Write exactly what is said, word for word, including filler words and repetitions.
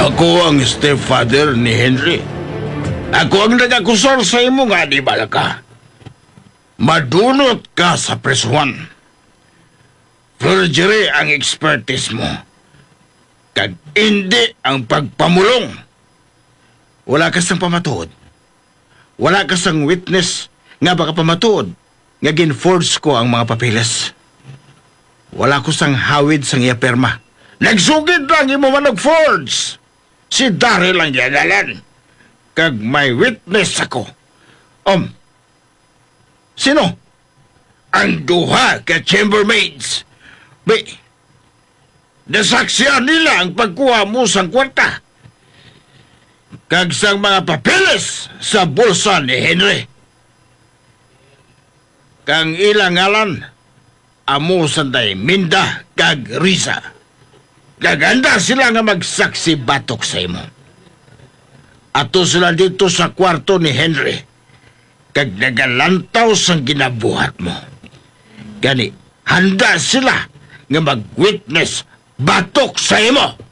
Ako ang stepfather ni Henry. Ako ang nag-akusar sa imo nga animal ka. Madunot ka sa prisuhan. Forgery ang expertise mo. Kag indi ang pagpamulong. Wala ka sang pamatuod. Wala ka sang witness nga makapamatuod nga gin-forge ko ang mga papeles. Wala ko sang hawid sang iya pirma. Nagsugid lang imo man og forge. Si Daryl ang iya ngalan. Kag may witness ako. Um, sino? Ang duha ka chambermaids. Bi, nasaksihan nila ang pagkuha mo sang kwarta kag sang mga papeles sa bulsa ni Henry. Kang ila ngalan, amo sanday Minda kag Risa. Kag handa sila nga magsaksi batok sa imo. Ato sila dito sa kwarto ni Henry, kag nagalantaw sang ginabuhat mo. Gani, handa sila nga mag-witness batok sa imo.